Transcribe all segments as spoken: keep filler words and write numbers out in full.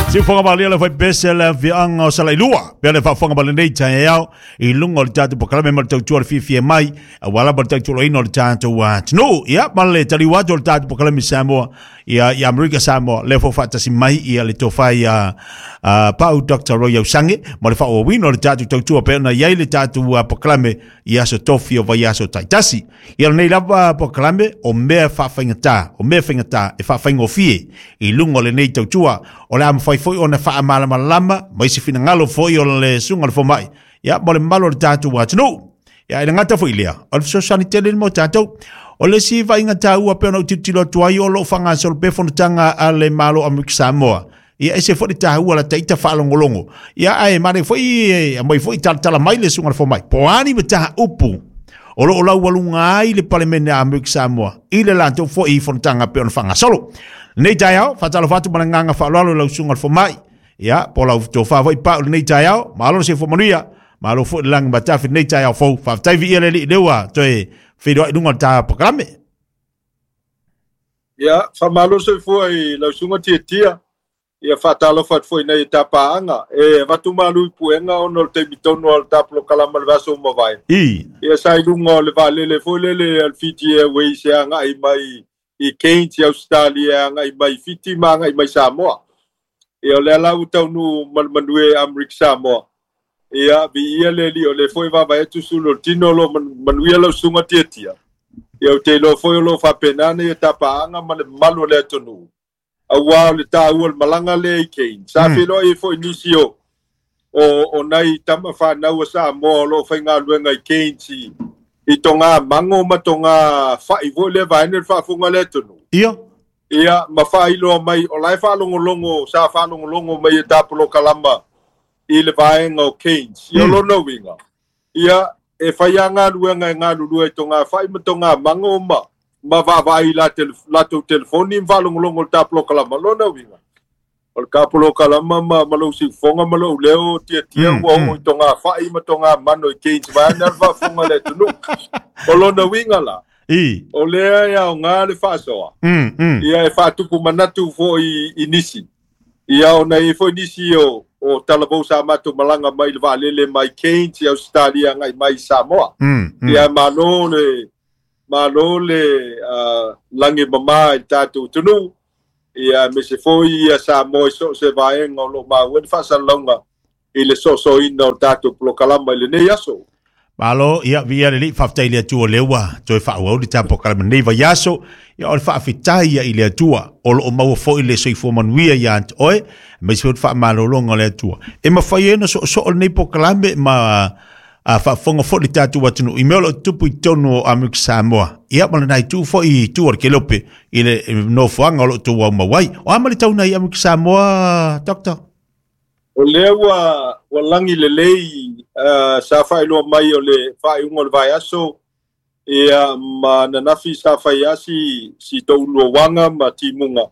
Siufoga malia le fai pese le afiaga o Salailua pea le faafofoga ma lenei taeao i luga o le tatou polokalame ma le tautua le fiafia mai aua lava le tautuaina o le tatou atunuu. Ia ma le taliu atu o le tatou polokalame Samoa ia i Amerika Samoa lea foi faatasi mai ia le tofa ia Pau Doctor Roy Ausange ma le faaauauina o le tatou tautua pea ona i ai le tatou polokalame i aso tofi o vaiaso taitasi. Ia lenei lava polokalame o mea faafaigata, o mea faigata e faafaigofie i luga o lenei tautua o le a mafai foi ona faamalamalama ma isi finagalo foi o le susuga o le fomai ia ma le mamalu o le tatou atunuu. Ia e le gata foi lea, o le fesoasoani tele mo tatou. O le isi vaaiga taua pei ona ou tilotilo atu ai o loo faagasolo pea fonotaga a le Malo o Amerika Samoa. Ia ese foi le taua la taita faalogologo. Ia ae manaia foi aumai foi talatala mai le susuga o le fomai. Po o a ni mataupu o loo laualuga ai le Palemene a Amerika Samoa i le latou foi fonotaga pei ona faagasolo. Lenei taeao, faatalofa atu ma le agaga faaaloalo i lau susuga o le fomai. Ia, po o lau tofa foi Pau lenei taeao, malo le soifua manuia, malo foi le lagi matafi lenei taeao fou. Faafetai viia le Alii lea ua toe feiloai i luga o le ta polokalame. Ia, faamalo soifua i lau susuga Tiatia. Ia faatalofa atu foi nei i tapaaga. E avatu malu i puega ona o le taimi tonu o le ta polokalame o le vaiaso ua mavae. I. Ia sa i luga o le vaalele foi lele a le Fiji Airways e agai mai i Cairns i Ausetalia e agai mai Fiti ma agai mai Samoa. Ia o lea la ua taunuu ma le manuia i Amerika Samoa. Ia viia le Alii o lea foi e vaavaai atu sulu o le tino o lo o manuia lau susuga Tiatia. Ia ou te iloa foi o lo o faapena nei tapaaga ma le mamalu o le atunuu. Aua o le taua o le malaga lea i Cairns. Sa feiloai ai foi nisi o o o nai tama fanau a Samoa o lo o faigaluega i Cairns i i togā mago ma togā fa'i foi lea vaega le faafofoga a le atunuu. Ia. Ia ma faailoa mai o la e faalogologo sa faalogologo mai e ta polokalama i le vaega o Cairns. Ia o lona uiga, ia e fai lava galuega e galulue i togā fa'i ma togā mago ma ma vaavaai i la latou telefoni ma faalogologo i le ta polokalama. Lona uiga, o le ta polokalama ma, ma lou siufofoga ma lou leo tiatia ua oo i togā fa'i ma togā mano i Cairns vaeane le faafofoga a le atunuu. O lona uiga la, I. o lea e aoga le faasoa, Mm, mm. ia e faatupu manatu foi i nisi. Ia ona e i ai foi nisi o, o talavou sa matou malaga mai le vaalele mai Cairns i Ausetalia agai mai i Samoa. Mm, mm. Ia malo le malo le uh, lagi mama i le tatou atunuu. Ia aemaise foi ia Samoa i so o se vaega o lo o maua ai le faasalalauga i le soosoina o le tatou polokalama i lenei aso. Malo, ia viia le Alii, faafetai i le Atua o lea ua toe faaauau le tatou polokalame i lenei vaiaso. Ia o le faafetai ia i le Atua o loo maua foi le soifua manuia ia te oe, aemaise foi le faamalologa o le Atua. E mafai ai ona soosoo lenei polokalame ma a faafofoga foi le tatou atunuu i mea o loo tutupu i totonu o Amerika Samoa. Ia ma lena itu foi i tua o le Kelope i le nofoaga o loo outou aumau ai. O a ma le tauna i Amerika Samoa, Doctor? O lea ua ua lagi lelei uh, sa faailoa mai o le faaiuga o le vaiaso ia ma ananafi sa fai lava si si touluaga ma timuga.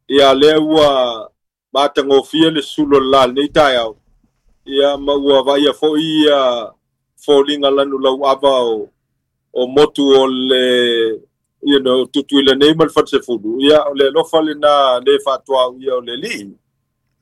Ia lea ua matagofie le sulu o le la lenei taeao. Ia ma ua vaaia foi ia foliga lanu lauava o o motu o le you know Tutuila nei ma le Falesefulu. Ia o le alofa lena le faatuauia o le Alii.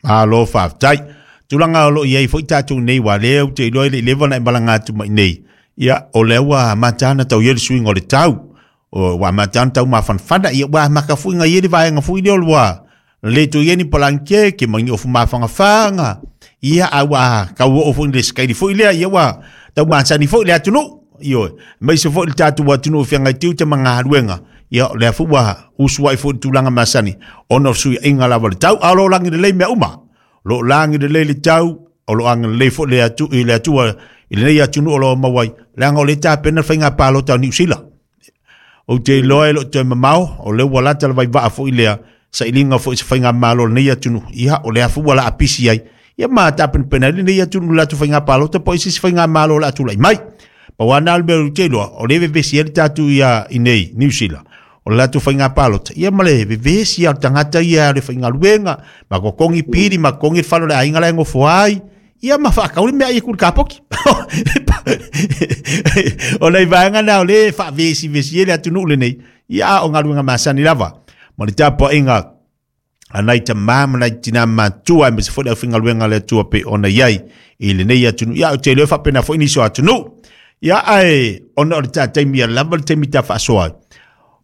Malo faafetai. Tulaga o loo i ai foi tatou nei aua lea ou te iloa e le i leva ona e malaga atu mai nei. Ia o lea ua amata ona tau i ai le suiga o le tau. O ua amata ona tau mafanafana. Ia ua amata foi ona i ai le vaega foi lea o le ua le toe i ai ni palankeke ma ni ofu mafagafaga. Ia a ua tau oo foi i le sikaili foi lea. Ia ua tau masani foi le atunuu. Ioe, aemaise foi le tatou atunuu e feagai tiute ma galuega. Ia o lea foi ua usu ai foi i le tulaga masani ona o fesuiaiga lava o le tau. A o lo o lagi lelei mea uma. O lo o lagi lelei le tau, o lo o agalelei foi le atu, i le Atua i lenei atunuu o lo o maua ai, leaga o lea e tapena le faiga palota o Niu Sila. Ou te iloa e le o toe mamao, o lea ua lata le vaivaa foi lea sailiga foi i se faigamalo o lenei atunuu. Ia, o lea foi ua laapisi ai, ia ma tapenapena ai lenei atunuu i le latou faiga palota po o isi faigamalo o le a tulai mai. Pau lava na o le mea ou te iloa, o lea e vevesi ai le tatou ia i nei Niu Sila, o le latou faiga palota, ia ma le vevesi lava o le tagata ia o le faigaluega, ma totogi pili, ma totogi le fale o le aiga la e nofo ai, ia ma faatau le meaai e ku i le kapoki. O nai vaega na o lea e faavesivesi ai le atunuu lenei, ia a o galuega masani lava ma le tapuaiga A nai ta mama nai tina matua me se fo le fingaluenga le tua pe ona iai i lenei atunuu. Ia o te leo faapena foi nisi o atunuu. Ia ae ona o le taimi a lava le taimi ta faasoa.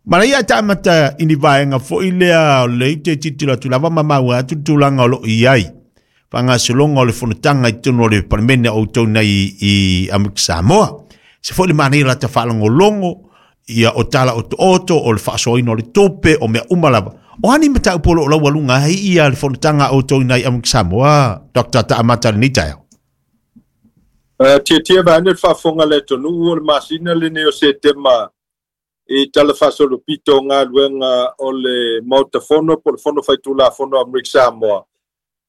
Mana ia ta amata i ni vaega foi lea o le te titilo atu lava ma maua atu tulaga o loo i ai. Faagasologa o le fonotaga i totonu o le Palemene o outou nei i Amerika Samoa. Se foi le manaia lata faalogologo ia o tala o otooto o le faasoaina o le tupe o mea uma lava. O ani mataupu o loo laualuga ai ia le fonotaga o outou nei Amerika Samoa, Doctor Taamata lenei taeao? Uh, tia tia vaeane le faafofoga le atunuu o le masina lenei o Setema i tala faasolopito o galuega o le Maota Fono po o le Fono Faitulafono o Amerika Samoa.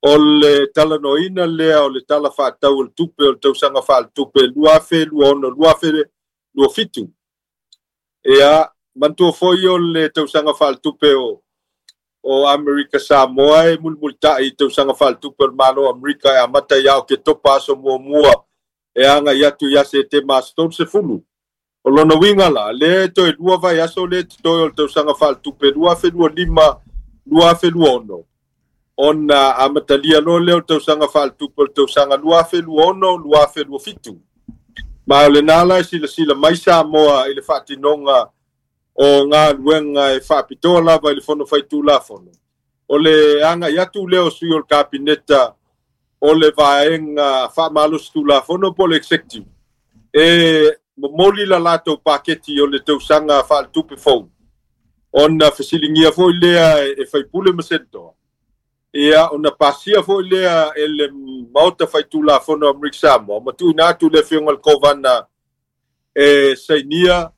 O le talanoaina lea o le tala faatatau o le tupe o le tausaga faaletupe lua afe lua ono lua afe lua fitu. Ia, manatua foi o le tausaga faaletupe o o Amerika Samoa e mulimulita'i i tausaga faaletupe o le Malo o Amerika e amata ia Oketopa aso muamua e agai atu ia Setema aso tolu sefulu. O lona uiga la, lea e toe lua vaiaso lea totoe o le tausaga faaletupe lua afe lua lima lua afe lua ono ona amatalia loa lea o le tausaga faaletupe o le tausaga lua afe lua ono lua afe lua fitu. Ma o lenā la e silasila mai Samoa i le faatinoga o galuega e faapitoa lava i le Fono Faitulafono. O le agai atu lea o sui o le Kapeneta o le vaega faamalosi tulafono po o le executive e momoli la latou paketi o le tausaga faaletupe fou ona fesiligia foi lea e faipule ma senatoa. Ia, ona pasia foi lea e le Maota Faitulafono o Amerika Samoa ma tuuina atu le afioga i le Kovana e sainia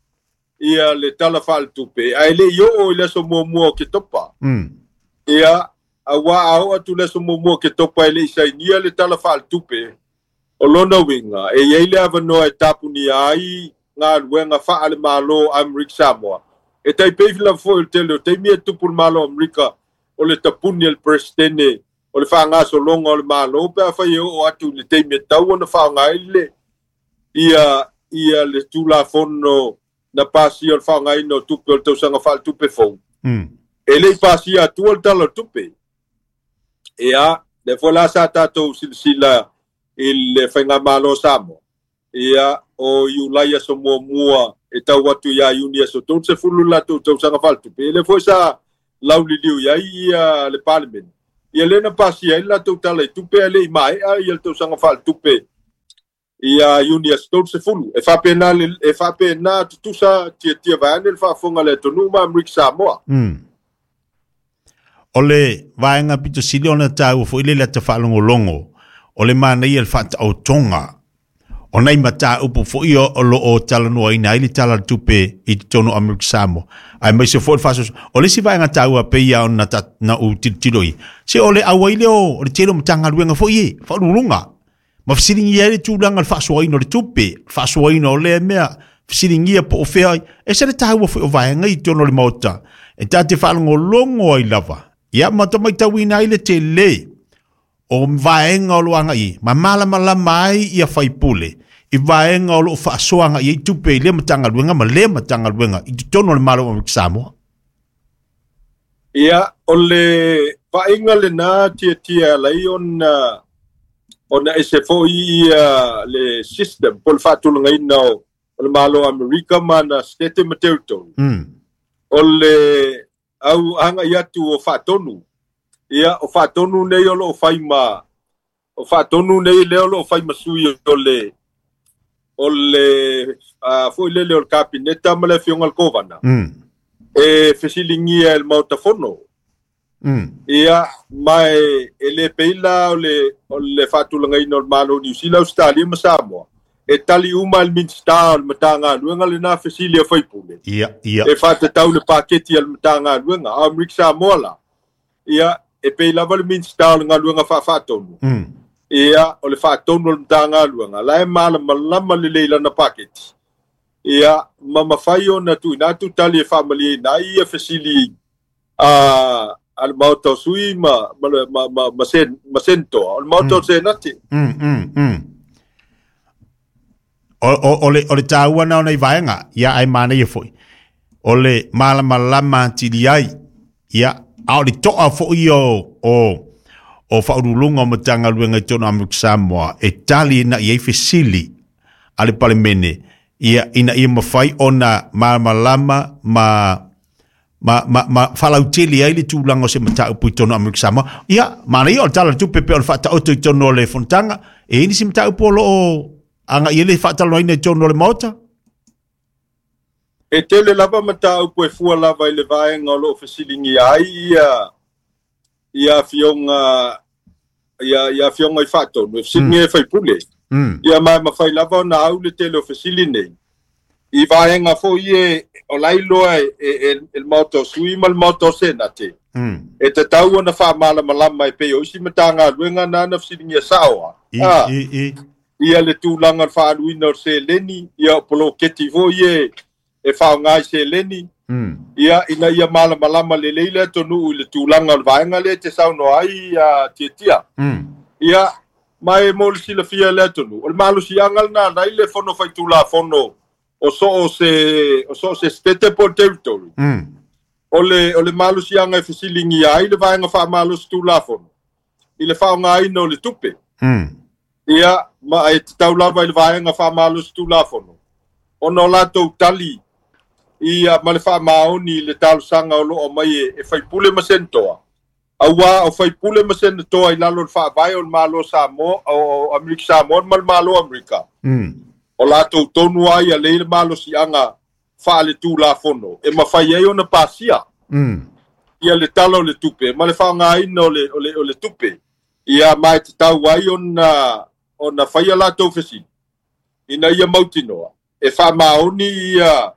ia le tala faaletupe ae le i oo i le aso muamua o Ketopa. Mm. Ia, auā a oo atu le aso muamua o Ketopa e le i sainia le tala faaletupe, o lona uiga e iai le avanoa e tapunia ai galuega faale-malo Amerika Samoa. E taipei lava foi o le tele o taimi e tupu le Malo o Amerika o le tapuni e le Peresetene o le faagasologa o le Malo pe afai e oo atu i le taimi e tau ona faaaoga ai le ia ia le tulafono na pasia o le faaaogaina o tupe o le tausaga faaletupe fou. Mm. E le i pasia atua le tala o le tupe. Ia, lea foi la sa tatou silasila i le faigamalo o Samoa. Ia, o Iulai aso muamua e tau atu ia Iuni aso tolu sefulu latou tausaga faaletupe. E le foi sa lauliliu i ai ia le Palemene. Ia lea na pasia ai le latou tala i tupe ae le i maea ia le tausaga faaletupe ia Iuni aso tolu sefulu. E faapena le e faapena tutusa tiatia vaeane le faafofoga a le atunuu ma Amerika Samoa. Mm. O le vaega pito sili ona taua foi le lata faalogologo o le manaia le faataotoga o nai mataupu foi o o loo talanoaina ai le tala o le tupe i totonu o Amerika Samoa. Aemaise foi le faasoaso. O le isi vaega taua pei ia ona ta, na ou tilotilo i. Se o le auai lea o le tele o Matagaluega foi e, faauluuluga. Ma fesiligia ai le tulaga o le faasoaina o le tupe, faasoaina o lea mea, fesiligia po o fea ai. E se le taua foi o vaega i totonu o le Maota. E ta te faalogologo ai lava. Ia ma tamaitauina ai le tele o vaega o lo agai ma malamalama ai ia faipule i vaega o loo faasoaga i ai tupe i lea Matagaluega ma lea Matagaluega i totonu o le Malo o Amerika Samoa. Ia, o le vaaiga lenā tiatia alai ona ona ese foi ia le system po o le faatulagaina o o le Malo o Amerika ma na Setete ma territory. Mm. O le au agai atu o faatonu. Ia, o faatonu nei o loo fai ma o faatonu nei lea o loo fai ma sui o le o le uh, foi lele o le Kapeneta ma le afioga i le Kovana. Mm. E fesiligia e le Maota Fono. Mm. Ia, ma e, e le pei la o le, o le faatulagaina o le Malo o Niu Sila, Australia ma Samoa. E tali uma le Minisita o le Matagaluega lenā fesili a faipule. Ia, ia. E faatatau le paketi a le Matagaluega. A o Amerika Samoa la, ia, e pei lava le Minisita o le Galuega Faafaatonu. Mm. Ia, o le faatonu o le Matagaluega, la e malamalama lelei lana paketi. Ia, ma mafai ona tuuina atu tali e faamalieina ai ia fesili a a le Maota o Sui ma ma ma ma ma, sen, ma senatoa. O le Maota o Senate. Mm, mm, mm. O, o, o, le, o le taua na o nei vaega, ia ai manaia foi. O le malamalama atili ai, ia, A o le to'a fo'i o o o faauluuluga o Matagaluega i totonu o Amerika Samoa e tali ina ia i fesili a le Palemene, ia ina ia mafai ona malamalama ma ma ma ma faalautele ai le tulaga o se mataupu i totonu o Amerika Samoa. Ia, manaia o le Tala o le Tupe pei o le faataoto i totonu o le fonotaga. E i ai nisi mataupu o lo o aga'i ai le faatalanoaina i totonu o le Maota? E tele lava mataupu e fua lava i le vaega o lo o fesiligia ai ia ia afioga ia ia afioga i faatonu e fesiligia e faipule. Mm. Ia ma e mafai lava ona au le tele o fesili nei i vaega foi e o la e iloa e, e, e, e le Maota o Sui ma le Maota o Senate. Mm. E tatau ona faamalamalama e pei o isi Matagaluega na na fesiligia sao a. I, Ah, i, i. Ia le tulaga o le faaluina o le seleni, ia o poloketi foi e e faaaoga i seleni, Mm. ia ina ia malamalama lelei le atunuu i le tulaga o le vaega lea e te saunoa ai a Tiatia. Mm. Ia, ma e mo le silafia le atunuu, o le malosiaga lena na i le Fono Faitulafono o so o se o so o se state po o le territory. Mm. O le o le malosiaga e fesiligia ai le vaega faamalosi tulafono i le faaaogaina o le tupe. Mm. Ia, ma e tatau lava i le vaega faamalosi tulafono ona o latou tali ia ma le faamaoni i le talosaga o lo o mai e, e faipule ma senatoa. Auā o faipule ma senatoa i lalo o le faavae o le Malo Samoa, o, o Amerika Samoa ma le Malo Amerika. Mm. O latou tonu ai a lei le malosiaga faale-tulafono e mafai ai ona pasia Mm. ia le Tala o le Tupe ma le faaaogaina o le, o le, o le tupe. Ia ma e tatau ai ona, ona faia latou fesili ina ia mautinoa e faamaoni ia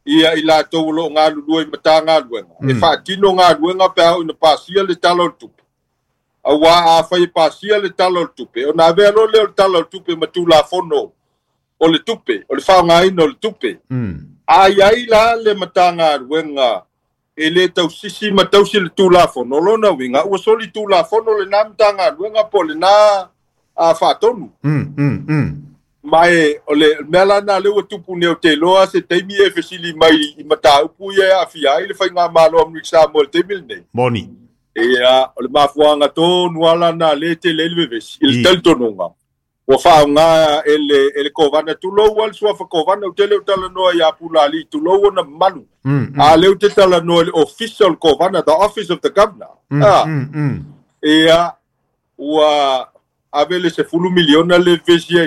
ia i latou o lo o galulue i Matagaluega Mm. e faatino galuega pe a oo ina pasia le Tala o le Tupe. Auā afai e pasia le Tala o le Tupe, ona avea loa lea o le Tala o le Tupe ma tulafono o le tupe, o le faaaogaina o le tupe. Mm. A i ai la le Matagaluega e lē tausisi ma tausi le tulafono, o lona uiga ua soli tulafono lenā Matagaluega po o lenā a faatonu. Mm. Mm. Mm. Ma e o le mea lana lea ua tupu nei, o te iloa se taimi e fesili mai i mataupu ia e aafia ai le faigamalo Amerika Samoa i le taimi lenei. Moni. Ia, o le mafuaga tonu ala na le tele ai le vevesi i le I. talitonuga ua faaaoga e le e le Kovana, tulou a le suafa Kovana, ou te le o talanoa ia Pulali, tulou ona mamalu. Mm. Mm. A lea ou te talanoa i le ofisa o le Kovana, the office of the governor. Mm. Ah, Mm. Mm. ia ua ave le sefulu miliona le vevesi ai.